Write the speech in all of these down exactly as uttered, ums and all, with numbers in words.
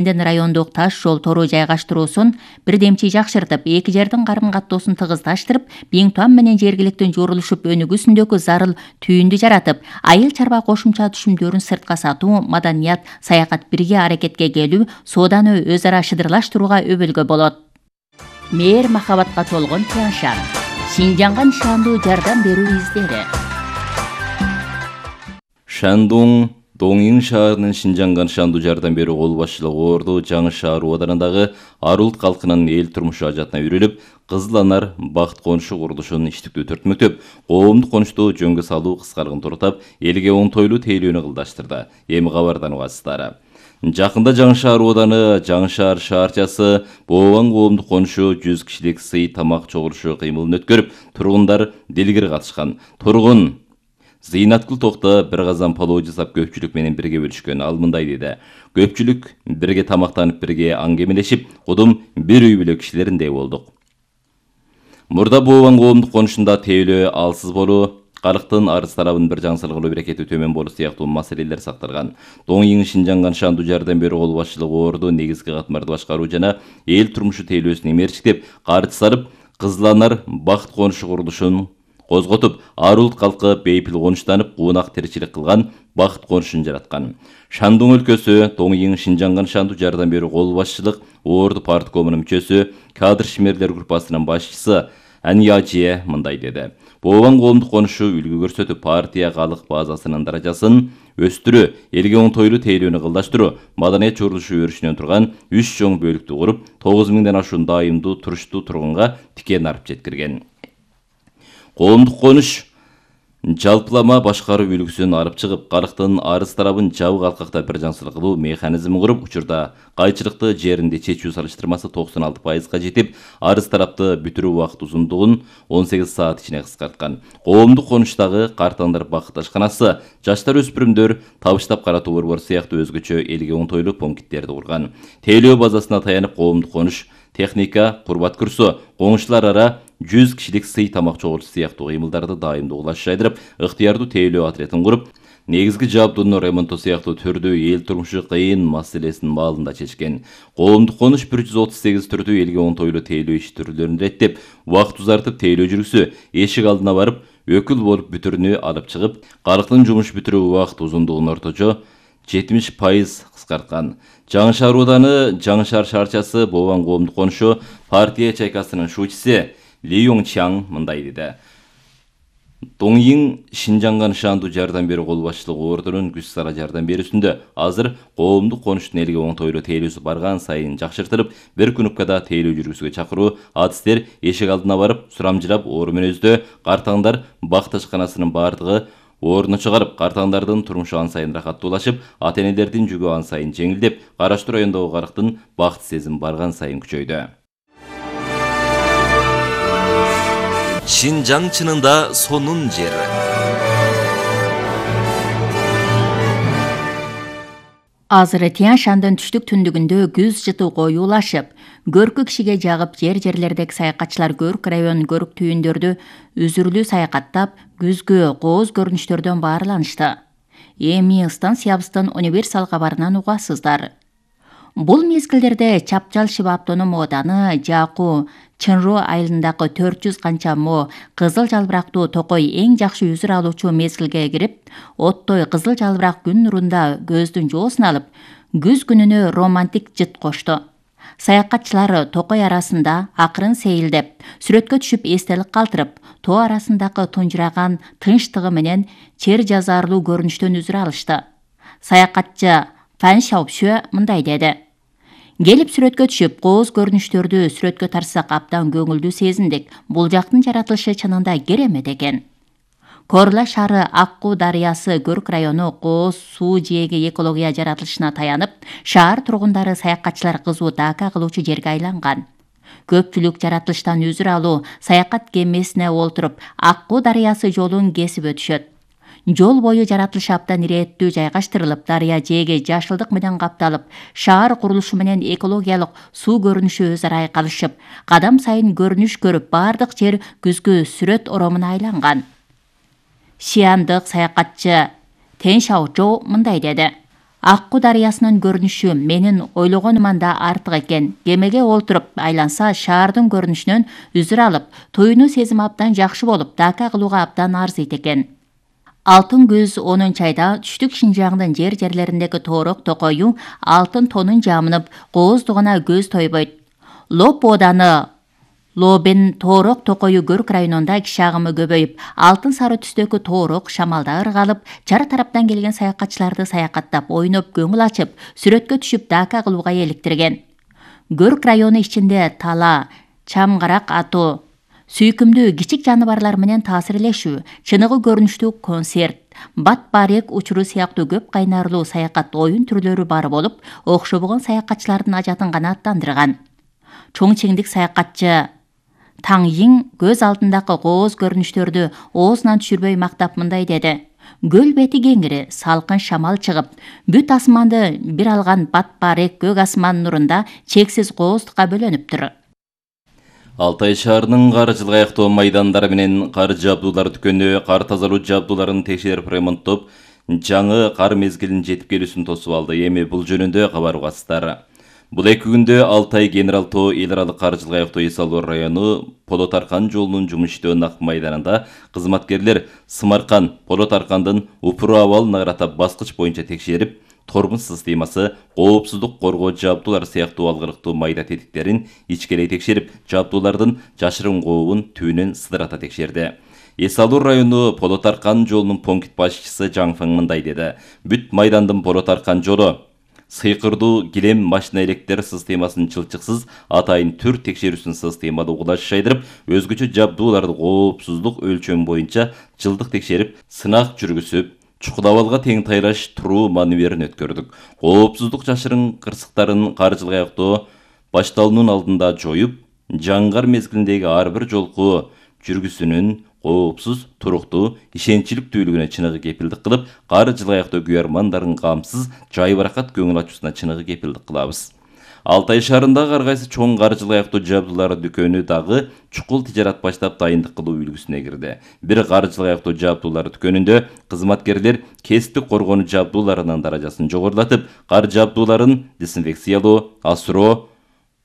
райондук таш жол тору жайгаштыруусун бирдемчи жакшыртып, эки жердин карым каттоосун тыгыздаштырып, Биңтуан менен жергиликтүү жорулушуп өнүгүүсүндөгү зарыл түйүндү жаратып, айыл чарба кошумча түшүмдөрүн сыртка сатуу, маданият, саякат бирге аракетке келүү, сооданы өз ара шыдырлаштырууга өбөлгө болот. Мээр махабатка толгон Тянь Шань. Шинжаңга нишандуу жардам берүү издери. Шандун Доңйиң шаарынын Шинжаңга нишандуу жардам берүү кол башчылыгы орду Жаңы шаар абадарындагы Арулт калкынын эл турмушу ажатына үйрөлүп, Кызыл Анар бакыт конушу курулушун иштиктүү төртмөктөп, коомдук конушту жөнгө салуу кыскаргын туруктап, элге оңтойлуу тейлөөнү кылдаштырды. Эми кабардан угасыздар. Жакында Жаңы шаар абаданы Жаңы шаар шаарчасы Бообан коомдук конушу жүз кишилик сый тамак чогулушу кыймылын өткөрүп, тургундар делгер катышкан. Тургун Зыйнаткул Токто бир казан палоо жасап көпчүлүк менен бирге бөлүшкөн. Ал мындай деди: көпчүлүк бирге тамактанып, бирге аңгемелешип, кудум бир үй бүлө кишилериндей болдук. Мурда Бообан коомдук конушунда тейлөө алсыз болуу, карыктын арыз талабын бир жаңсыл кылуу берекети төмөн болуу сыяктуу маселелер сакталган. Доңйиң Шинжаңга нишандуу жардам берүү кол башчылыгы орду негизги катмарды башкаруу жана эл турмушу тейлөөсүн эмерчиктеп, каржы сарып, Кызыл Анар бакыт конушу курулушун козготуп, Арулт калкы бейпил конуштанып, куунак тиричилик кылган бакыт конушун жараткан. Шандун өлкөсү Доңйиң Шинжаңга нишандуу жардам берүү кол башчылык орду парткомунун мүчөсү, кадр шимерлер группасынын башчысы Аньяжие мындай деди: Бообан коомдук конушу үлгү көрсөтүп, партия калык базасынын даражасын өстүрүү, элге оңтойлуу тейлөөнү кылдаштыруу, маданият жорулушу өрүшүнөн турган үч чоң бөлүктү куруп, тогуз миңден ашуун дайымдуу туруштуу тургунга тикен арып жеткирген. Коомдук конуш жалпылама башкаруу үлгүсүн алып чыгып, карыктын арыз талабын жабык алкакта бир жаңсыл кылуу механизмин куруп, учурда кайчылыкты жеринде чечүү салыштырмасы токсон алты пайызга жетип, арыз талапты бүтүрүү убакыт узундугун он сегиз саат ичине кыскарткан. Коомдук конуштагы картаңдар бакыт ашканасы, жаштар өспүрүмдөр табыштап каратуу борбор сыяктуу өзгөчө элге оңтойлуу пункттерди курган. Тейлөө базасына таянып, коомдук конуш техника, курбат курсу, коңшулар ара жүз кишилик сый тамак чогулушу сыяктуу кыймылдарды дайымдуу кылаш жайдырып, ыктыярдуу тейлөө отрядын куруп, негизги жабдуунун ремонту сыяктуу түрдүү эл турмушу кыйын маселесин маалында чечкен. Коомдук конуш бир жүз отуз сегиз түрдүү элге оңтойлуу тейлөө иш түрлөрүн реттеп, убакыт узартып, тейлөө жүргүсү, эшик алдына барып, өкүл болуп бүтүрүнү алып чыгып, карыктын жумуш бүтүрүү убакыт узундугун орточо жетимиш пайыз кыскарткан. Жаңы шаар абаданы Жаңы шаар шаарчасы Бообан коомдук конушу партия чайкасынын шуучусы Ли Йоңчаң мындай деди: Доңйиң Шинжаңга нишандуу жардам берүү кол башчылыгы ордунун күч сара жардам берүүсүндө азыр коомдук конуштун элге оңтойлуу тейлөөсү барган сайын жакшыртылып, бир күнүпкада тейлөө жүргүзүүгө чакыруу, адистер эшик алдына барып, сурамжырап, оору мүнөздө картаңдар бакыт ашканасынын бардыгы ордуна чыгарып, картаңдардын турмушу ан сайын рахаттуулашып, ата-энелердин жүгү ан сайын жеңилдеп, Караштуу районундагы карыктын бакыт сезим барган сайын күчөйдү. Шинжаң чынында сонун жер. Азыр Тянь Шандын түштүк түндүгүндө күз жытуу коюулашып, көркү кишиге жагып, жер-жерлердеги саякатчылар Көрк районунун көрк түйүндөрдү үзүрлүү саякаттап, күзгү кооз көрүнүштөрдөн баарланышты. Эми станциябыздын универсал кабарынан угасыздар. Бул мезгилдерде Чапчал Шиба автоном ооданы Жаку Чынру айылындагы төрт жүз канча мо кызыл жалбырактуу токой эң жакшы үзүр алуучу мезгилге кирип, оттой кызыл жалбырак күн нурунда көздүн жоосун алып, күз күнүнө романтик жыт кошту. Саякатчылар токой арасында акырын сейилдеп, сүрөткө түшүп эстелик калтырып, тоо арасындагы тунжураган тынчтыгы менен чер жазаарлуу көрүнүштөн үзүр алышты. Саякатчы Фан Шаопшө мындай деди: Келип сүрөткө түшүп, кооз көрүнүштөрдү сүрөткө тартсак абдан көңүлдүү сезиндик. Бул жактын жаратылышы чынында керемет экен. Корла шаары Аккуу дарыясы Көрк району кооз суу жээги экология жаратылышына таянып, шаар тургундары саякатчылар кызуу дака кылуучу жерге айланган. Көпчүлүк жаратылыштан үзүр алуу, саякат кемесине олтуруп, Аккуу дарыясы жолун кесип өтүшөт. Жол бою жаратылышы абдан ирээттүү жайгаштырылып, дарыя жээги жашылдык менен капталып, шаар курулушу менен экологиялык суу көрүнүшү өз ара айкалышып, кадам сайын көрүнүш көрүп, бардык жер күзгү сүрөт оромуна айланган. Шиандык саякатчы Тянь Шаочжоу мындай деди: Акку дарыясынын көрүнүшү менин ойлогонуман да артык экен. Кемеге олтуруп айланса шаардын көрүнүшүнөн үзүр алып, туюну сезим абдан жакшы болуп, дака кылууга абдан арзыйт экен. Алтын күз онунчу айда түштүк Шинжаңдын жер жерлериндеги тоорок токою алтын тонун жамынып, кооздугуна көз тойбойт. Лоп ооданы Лобен тоорок токою Көрк районунда киши агымы көбөйүп, алтын сары түстөгү тоорок шамалда ыргалып, чар тараптан келген саякатчыларды саякаттап, ойноп, көңүл ачып, сүрөткө түшүп, дака кылууга эликтирген. Көрк району ичинде тала, чамгарак атуу, сүйкүмдүү кичик жаныбарлар менен таасирлешүү, чыныгы көрүнүштүү концерт, бат барек учуру сыяктуу көп кайнарлуу саякат оюн түрлөрү бар болуп, окшобогон саякатчылардын ажатын гана аттандырган. Чоңчеңдик саякатчы Таң Йиң көз алдындагы кооз көрүнүштөрдү оозунан түшүрбөй мактап мындай деди. Көл бети кеңири, салкын шамал чыгып, бүт асманды бир алган бат барек көк асман нурунда чексиз кооздукка бөлөнүптүр. Алтай шаарынын кар жылга аяктоо майдандары менен кар жабдуулар дүкөнү кар тазалоо жабдууларын текшерип ремонттоп, жаңы кар мезгилинин жетип келүүсүн тосуп алды. Эми бул жөнүндө кабар угасыздар. Бул эки күндө Алтай Генерал Тоо эл аралык кар жылга аяктоо эс алуу району Полот Аркан жолунун жумуш иштөө нак майданында кызматкерлер Сымаркан, Полот Аркандын упуру абалын аратап баскыч боюнча текшерип, тормоз системасы, коопсуздук коргоо жабдуулары сыяктуу алгырыктуу майда тетиктерин ичкелей текшерип, жабдуулардын жашырын кообун түбүнөн сыдырата текшерди. Эс алуу району Полот Аркан жолунун пункт башчысы Жаң Фэң мындай деди. Бүт майдандын Полот Аркан жолу сыйкырдуу килем машина электр системасын чылчыксыз атайын түр текшерүүсүн системалуу угулаш шайдырып, өзгөчө жабдууларды коопсуздук өлчөм боюнча жылдык текшерип, сынак жүргүзүп, чукул абалга тең тайлаш туруу маневерин өткөрдүк. Коопсуздук жашырын кырсыктарын кар жылга аяктоо башталуунун алдында жоюп, жаңгар мезгилиндеги ар бир жолку жүргүзүүнүн коопсуз, туруктуу, ишенчиликтүүлүгүнө чыныгы кепилдик кылып, кар жылга аяктоо күйөрмандардын камсыз, жайбаракат көңүл ачуусуна чыныгы кепилдик кылабыз. Алтай шаарындагы ар кайсы чоң кар жылга аяктоо жабдуулар дүкөнү дагы чукул тижарат баштап дайындык кылуу үлгүсүнө кирди. Бир кар жылга аяктоо жабдуулар дүкөнүндө кызматкерлер кесиптик коргонуу жабдууларынын даражасын жогорулатып, кар жабдууларын дезинфекциялоо, асыроо,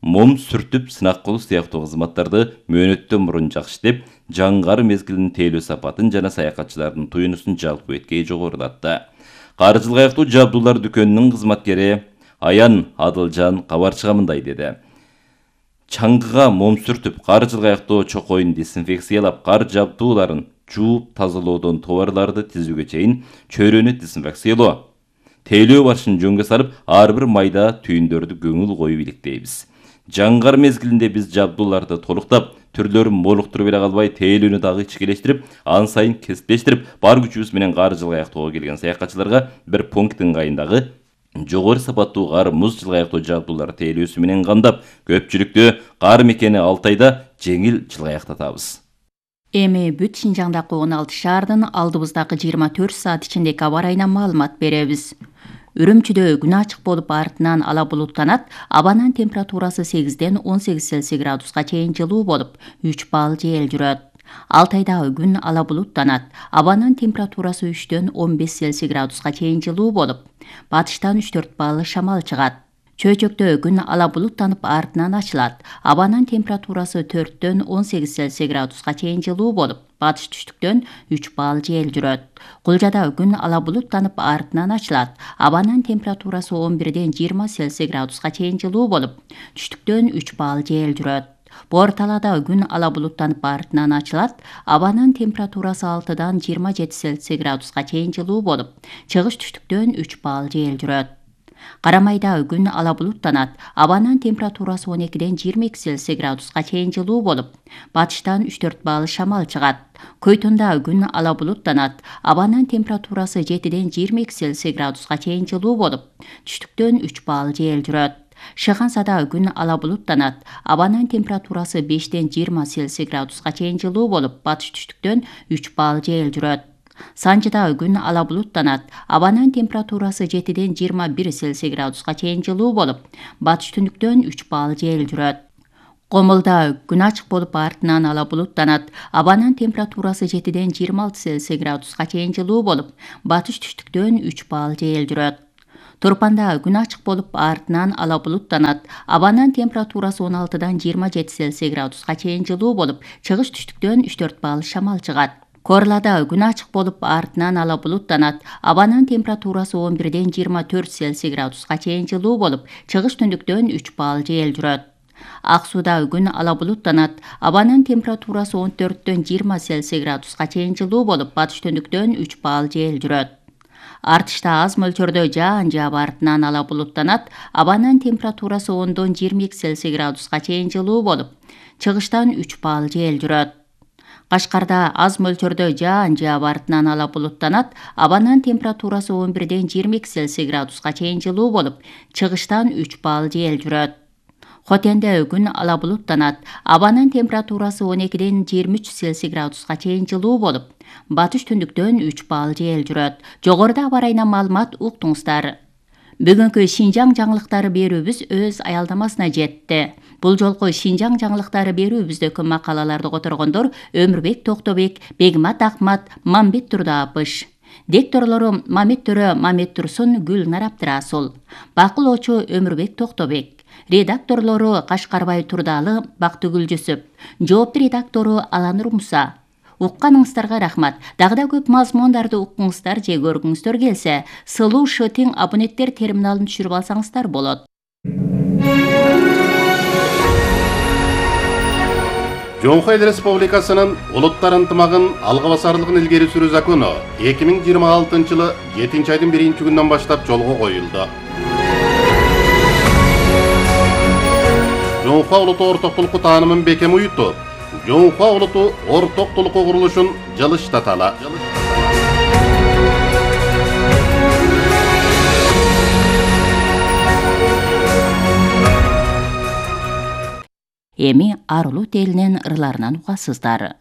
мом сүртүп, сынак кылуу сыяктуу кызматтарды мөөнөттөн мурун жакшытып, жаңгар мезгилинин тейлөө сапатын жана саякатчылардын туюнусун жалпы эткей жогорулатты. Кар жылга аяктуу жабдуулар дүкөнүнүн кызматкери Аян Адылжан кабарчыга мындай деди. Чаңгыга мом сүртүп, кар жылга аяктоо чокоюн дезинфекциялап, кар жабдууларын жууп тазалоодон товарларды тизүүгө чейин чөйрөнү дезинфекциялоо, тейлөө башын жөнгө салып, ар бир майда түйүндөрдү көңүл коюп иликтейбиз. Жаңгар мезгилинде биз жабдууларды толуктап, түрлөрүн молуктуруп эле калбай, тейлүүнү дагы ичкелештирип, ан сайын кесиптештирип, бар күчүбүз менен кар жылга аяктоого келген саякатчыларга бир пункт ыңгайындагы жогору сапаттуу кар муз жылга аяктоо жабдуулар тейлөөсү менен камдап, көпчүлүктү кар мекени Алтайда жеңил жылга аяктатабыз. Эми бүт Шинжаңдагы он алты шаардын алдыбыздагы жыйырма төрт саат ичиндеги аба ырайынан маалымат беребиз. Үрүмчүдө күн ачык болуп, артынан ала булуттанат. Абанын температурасы сегизден он сегиз Цельсий градуска чейин жылуу болуп, үч балл жел жүрөт. Алтайдагы күн ала булуттанат. Абанын температурасы үчтөн он беш Цельсий градуска чейин жылуу болуп, батыштан үч төрт балл шамал чыгат. Чөйчөктө күн ала булуттанып, артынан ачылат. Абанын температурасы төрттөн он сегиз Цельсий градуска чейин жылуу болуп, батыш түштүктөн үч балл жел жүрөт. Кулжада күн ала булуттанып, артынан ачылат. Абанын температурасы он бирден жыйырма Цельсий градуска чейин жылуу болуп, түштүктөн үч балл жел жүрөт. Борталада күн ала булуттанып, артынан ачылат. Абанын температурасы алтыдан жыйырма жети Цельсий градуска чейин жылуу болуп, чыгыш түштүктөн үч балл жел жүрөт. Карамайда күн ала булуттанат. Абанын температурасы он экиден жыйырма эки Цельсий градуска чейин жылуу болуп, батыштан үч төрт балл шамал чыгат. Көйтүндө күн ала булуттанат. Абанын температурасы жетиден жыйырма эки Цельсий градуска чейин жылуу болуп, түштүктөн үч балл жел жүрөт. Шыгансада күн ала булуттанат. Абанын температурасы бештен жыйырма Цельсий градуска чейин жылуу болуп, батыш түштүктөн үч балл жел жүрөт. Санжыда күн ала булуттанат. Абанын температурасы жетиден жыйырма бир Цельсий градуска чейин жылуу болуп, батыш түндүктөн үч балл жел жүрөт. Комулда күн ачык болуп, артынан ала булуттанат. Абанын температурасы жетиден жыйырма алты Цельсий градуска чейин жылуу болуп, батыш түштүктөн үч балл жел жүрөт. Турпанда күн ачык болуп, артынан ала булуттанат. Абанын температурасы он алтыдан жыйырма жети Цельсий градуска чейин жылуу болуп, чыгыш түштүктөн үч төрт балл шамал чыгат. Корлада күн ачык болуп, артынан ала булуттанат. Абанын температурасы он бирден жыйырма төрт Цельсий градуска чейин жылуу болуп, чыгыш түндүктөн үч балл жел жүрөт. Ак Сууда күн ала булуттанат. Абанын температурасы он төрттөн жыйырма Цельсий градуска чейин жылуу болуп, батыш түндүктөн үч балл жел жүрөт. Артышта аз мөлчөрдө жаан жаап, артынан ала булуттанат. Абанын температурасы ондон жыйырма эки Цельсий градуска чейин жылуу болуп, чыгыштан үч балл жел жүрөт. Кашкарда аз мөлчөрдө жаан жаап, артынан ала булуттанат. Абанын температурасы он бирден жыйырма эки Цельсий градуска чейин жылуу болуп, чыгыштан үч балл жел жүрөт. Хотенде күн ала булуттанат. Абанын температурасы он экиден жыйырма үч Цельсий градуска чейин жылуу болуп, батыш түндүктөн үч балл жел жүрөт. Жогоруда аба ырайынан маалымат уктуңуздар. Бүгүнкү Шинжаң жаңылыктары берүүбүз өз аялдамасына жетти. Бул жолку Шинжаң жаңылыктары берүүбүздөгү макалаларды которгондор Өмүрбек Токтобек, Бегмат Акмат, Мамбет Турдаапыш. Дикторлору Мамет Төрө, Мамет Турсун, Гүлнар Абдырасул. Бакылоочу Өмүрбек Токтобек. Редакторлору Кашкарбай Турдалы, Бактыгүл Жүсүп. Жоопту редактору Аланур Муса. Укканыңыздарга рахмат. Дагы да көп мазмундарды уккуңуздар же көргүңүздөр келсе, сылуу шытың абоненттер терминалын түшүрүп алсаңыздар болот. Жоңхо Эл Республикасынын улуттар ынтымагын алга басарлыгын илгери сүрүү закону эки миң жыйырма алтынчы жылы жетинчи айдын биринчи күнүнөн баштап жолго коюлду. Жоңхо улуту ортоктулукку таанымын бекем уютуп, Жоңхо улуту ортоктулукку курулушун жылыштаталы. Эми Арулут элинин ырларынан угасыздар.